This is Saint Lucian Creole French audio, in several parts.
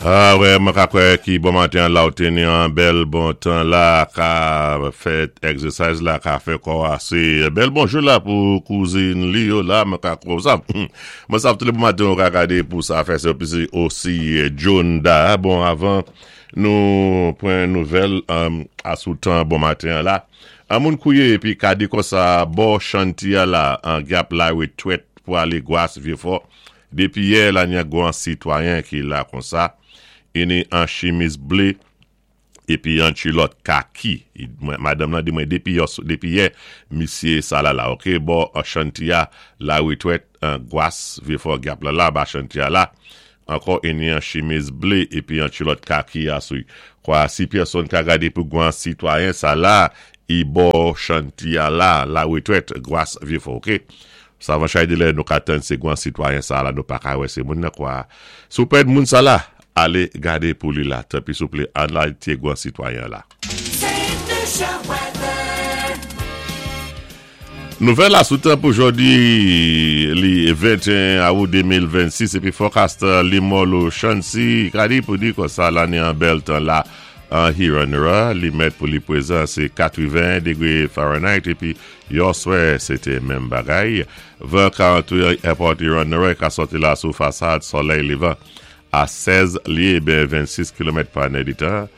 Ah wè, mwen ka kwè ki bon maten an la ou té ni an bèl bon tan la ka fè exercise la ka fè kò a sé bèl bonjou la pou kouzin li yo la mwen ka kwè ou sa mwen sav tou lè bon maten ou ka gadé pou sa fè se osi osi Djonda bon avan nou pran nouvèl asou tan bon maten an la an moun kouye épi ka di konsa bò chanti a la an gyap la retwèt pou alé gwas vyefò Depi yè la nya gwan sitwayen ki la konsa, i ni an chimiz ble epi an kulòt kaki. Madanm lan di mwen depi depi yè misye sa la la ok bò chanti a la retwèt an gwas vyefò gyap la la ba chanti a la ankò i ni an chimiz ble epi an kulòt kaki a sou kwa si pèsonn ka gade pou gwan sitwayen sa la i bò chanti a la la retwèt gwas vyefò ok. Savan chay de lè nou ka tann se gwan sitwayen sa la nou paka wè se moun nan kwa si w pèd moun sa la ale gade pou li la tanpi souple ann al tye gwan sitwayen la. Nouvèl la sou tan pou jodi li 21 awou 2026 epi forecast Limolo Chancy ka di pou di konsa lane an bèl tan la an Hiranra li mèt pou li pwezan se 81 degre Fahrenheit epi Yòswè, se te menm bagay. Van ka antre Èpòt Iran Nò e ka sòti la sou fasad solèy levan a 16 lye ben 26 kilomèt pa nèditan.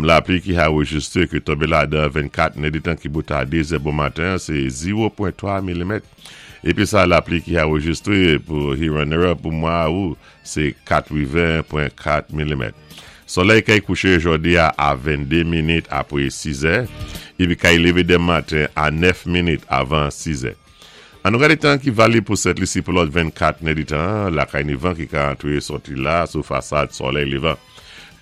Lapli ki arejistre ki tonbe ladan 24 nèditan ki bout a 2 zè bon maten an se 0.3 milimèt. Epi sa lapli ki arejistre pou Hiran Nò pou mwa Awou se 80.4 milimèt. Solèy kay kouché jòdi a a 22 minit apwé 6 zè, epi kay lévé denm maten a 9 minit avan 6 zè. An nou gade tan ki valib pou Sent Lisi pou lòt 24 nèditan, lakay ni van ki ka antre sòti la sou fasad solèy levan.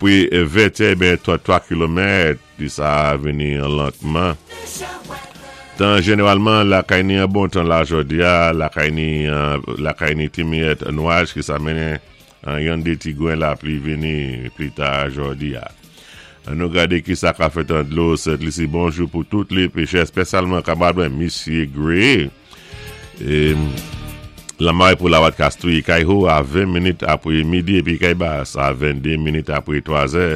Pwi vètyè ben 33 kilomèt. Pi sa a vini lantman. Tan jeneralman lakay ni an bon tan la jodi a, lakay ni lakay ni ti miyèt nwaj ki sa mennen yon de ti gren lapli vini pli ta jodi a. An nou gade ki sa ka fèt an dlo Sent Lisi bonjou pou tout li pechè espesyalman kamarad mwen Misye Gray. Lanmay pou Lawat Kastri, kay Ho a 20 minit apre midi epi kay Bas a 22 minit apre 3 zè.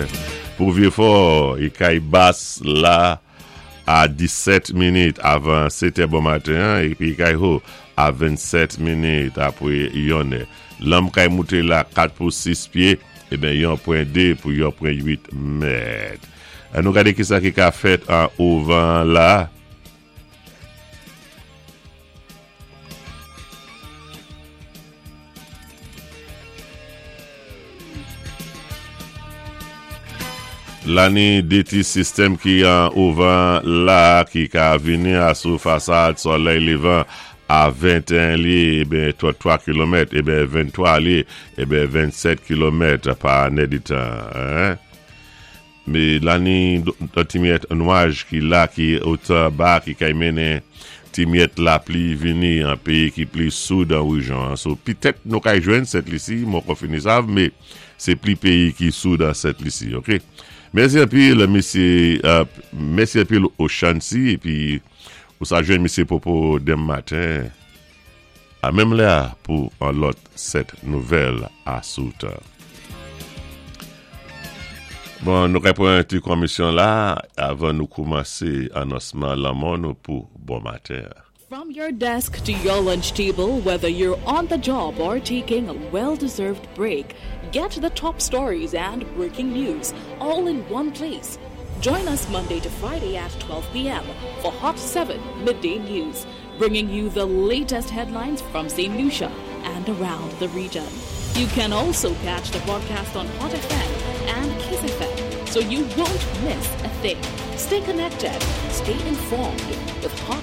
Pou Vyefò, kay Bas la a 17 minit avan 7 è bon maten an epi kay Ho a 27 minit apre yon è. Lanm kay moute la 4 pou 6 pye, eben yon pwen 2 pou yon pwen 8 mèt. An nou gade kisa ki ka fèt an ouvan la. Lani de ti sistèm ki an ouvan la ki ka vini a sou fasad solèy levan a 21 lye eben 33 kilomèt eben 23 lye eben 27 kilomèt pa nèditan. Me lani don ti myèt nwaj ki la ki otan ba ki kay mennen ti myèt lapli vini an peyi ki pli soud an rejyon an. So pitèt nou kay jwenn Sent Lisi, mwen poko fini sav me se pli peyi ki soud an Sent Lisi ok. Mèsi anpil mesye mèsi anpil Ochancy epi ou sa jwenn mesye Popo denm maten. A menm lè a pou an lòt 7 nouvèl a sou tan. Bon, nou kay pran ti konmisyon la avan nou koumanse anonsman lanmò nou pou bon maten an. From your desk to your lunch table, whether you're on the job or taking a well-deserved break, get the top stories and breaking news all in one place. Join us Monday to Friday at 12 p.m. for Hot 7 Midday News, bringing you the latest headlines from St. Lucia and around the region. You can also catch the broadcast on Hot FM and Kiss FM, so you won't miss a thing. Stay connected, stay informed with Hot.